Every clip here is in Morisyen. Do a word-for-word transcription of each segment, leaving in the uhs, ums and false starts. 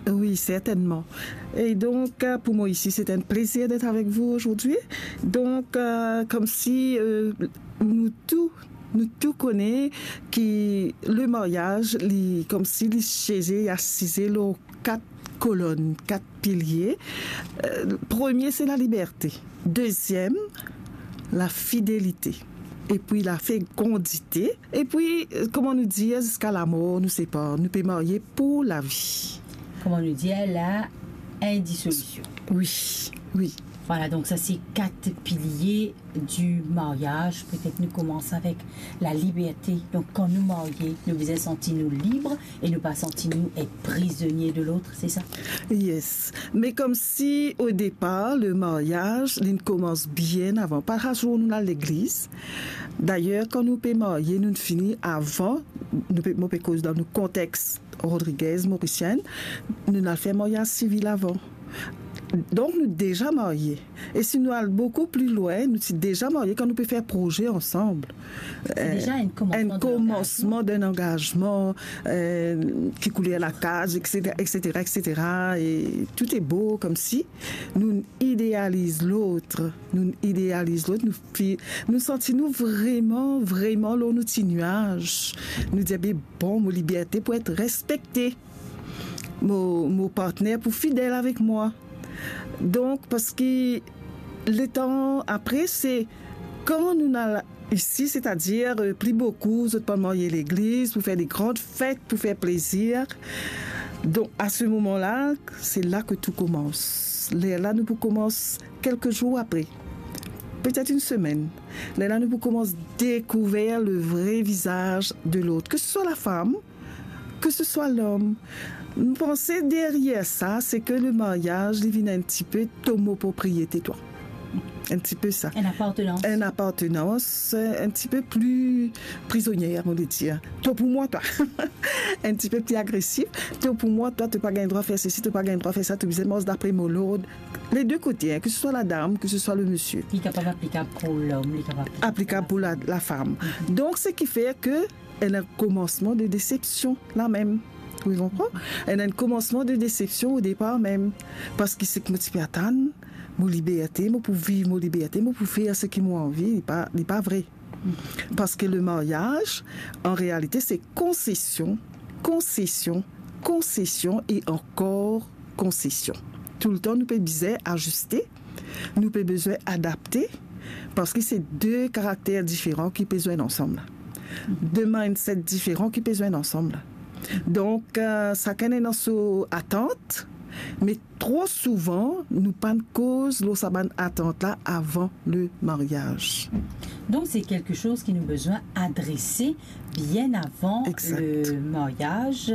Oui, certainement. Et donc, euh, pour moi ici, c'est un plaisir d'être avec vous aujourd'hui. Donc, euh, comme si euh, nous tous, nous tous connaît que le mariage, li, comme si li siégeait, il assisait aux quatre colonnes, quatre piliers. Euh, le premier, c'est la liberté. Deuxième, la fidélité. Et puis la fécondité. Et puis, euh, comment nous dire, jusqu'à la mort, nous sépare. Nous pouvons marier pour la vie. Kouma nou dir la, indisolusion. Oui, oui. Voilà, donc ça c'est quatre piliers du mariage. Peut-être nous commençons avec la liberté. Donc quand nous marions, nous devons sentir nous libres et ne pas sentir nous être prisonniers de l'autre, c'est ça? Yes. Mais comme si au départ, le mariage, il commence bien avant. Pas à jour, nous, à l'église. D'ailleurs, quand nous pouvons marier, nous finissons avant. Nous, pe- moi, pe koz dans le contexte Rodriguez, mauricienne, nou al fer maryaz sivil avan. Donk, nou deza marye. E si nou al boukou pli lwin, nou ti deza marye kan nou pe fer proze ansam. Ti deza enn komansman enn komansman d'enn angazman, euh, ki kouler lakaz, et cetera, et cetera, et cetera. E tou e bo, koumsi nou idealiz lot, nou idealiz lot, nou fi-, nou santi nou vreman, vreman lor nou ti nwaz. Nou dir, "Be, bon, mo liberte pou et respekte. Mo, mo partner pou fidel avek mwa." Donk, parski letan apre, se kan nou al isi, setadir, euh, pli boukou, zot pa marye legliz pou fer de gran fet, pou fer plezir. Donk, a se moman la, se la ke tou koumans. Lerla nou pou koumans kelke zour apre, petet enn semenn. Lerla nou pou koumans dekouver le vre vizaz de lot, ke se swa lafam, ke se swa lom. Mo panse deryer sa, se ke le maryaz, li vinn enn tipe to mo propriete twa. Enn tipe sa. Enn apartenans. Enn apartenans, enn tipe pli prizonier, mo le dir. To pou mwa, twa. Enn tipe pli agresif. To pou mwa, twa, to pa gagn drwa fer sesi, to pa gagn drwa fer sa, to bizin mars dapre mo lord. Les deux côtés, hein, que ce soit la dame, que ce soit le monsieur. Li kapav aplikab pou lom, li kapav aplikab pou la, lafam. Donk, seki fer ke enn komansman de desepsion, la mem. Ou konpran? Enn komansman de desepsion o depar mem. Parski seki mo ti pe atann, mo liberte, mo pou viv mo liberte, mo pou fer seki mo anvi, li pa, li pa vre. Parski le maryaz, an realite, se konsesion, konsesion, konsesion e ankor konsesion. Toultan nou pe bizin aziste, nou pe bizin adapte, parski se de karakter diferan ki pe zwenn ansam la. De mindset diferan ki pe zwenn ansam la. Donk, euh, sakenn ena so atant, me tro souvan, nou pa'nn koz lor sa bann atant la avan le maryaz. Donk, se kelke soz ki nou bizin adrese bien avan le maryaz,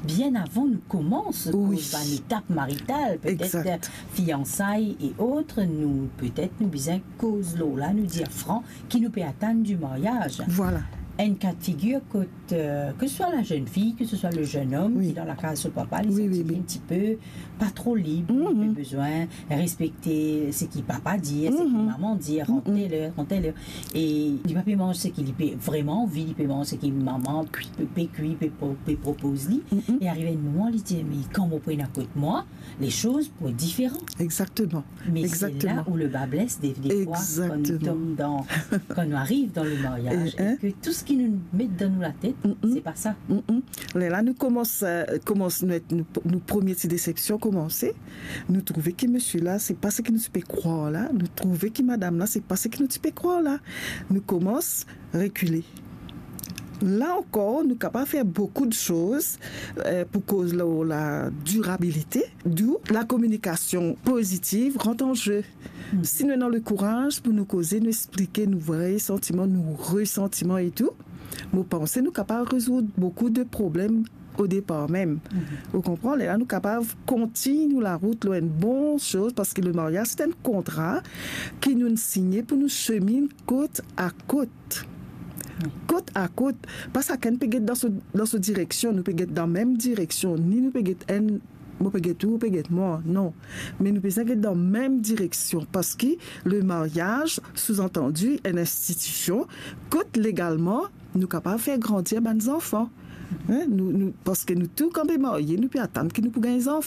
bien avan nou koumans koz bann etap marital, petet fiansay e ot, nou, petet nou bizin koz lor la, nou dir fran ki nou pe atann di maryaz. Vwala. Enn ka de figir kot, euh, ke se swa la zenn fi, ke se swa le zenn om ki dan lakaz so papa, li santi li enn tipe pa tro lib, li pe bizin respekte seki papa dir, seki mama dir, rant tel er, rant tel er. E li pa pe manz seki li pe vreman anvi, li pe manz seki mama pe, pe kwi, pe pro-, pe propoz li. E arive enn moman, li dir, "Me kan mo pou ena kot mwa, le soz pou et diferan." Exactement. Me se la ou le ba bles, de, defwa, kan nou tom dan, kan nou ariv dan le maryaz, e ke tou seki nou met dan nou latet, se pa sa. Lerla nou koumans, euh, koumans nou, nou, nou premie ti desepsion koumanse. Nou trouve ki misie la, se pa seki nou ti pe krwar la. Nou trouve ki madam la, se pa seki nou ti pe krwar la. Nou koumans rekile. La ankor, nou kapav fer boukou de soz, euh, pou koz lor la dirabilite, d'où la kominikasion pozitiv rant an ze. Si nou ena lekouraz pou nou koze, nou explike nou vre santiman, nou resantiman e tou, mo panse nou kapav rezoud boukou de problem o depar mem. Ou konpran? Lerla nou kapav kontign nou larout lor enn bon soz, parski le maryaz, se enn kontra ki nou signe pou nou seminn kot a kot. Kot a kot. Pa sakenn pe get dan so, dan so direksion, nou pe get dan mem direksion, ni nou pe get enn, mo pe get ou, ou pe get mwa, non. Me nou bizin get dan mem direksion, parski le maryaz, souzantandi, enn institision kot legalman nou kapav fer grandir bann zanfan. Hein? Nou, nou, parski nou tou kan pe marye, nou pe atann ki nou pou gagn zanfan.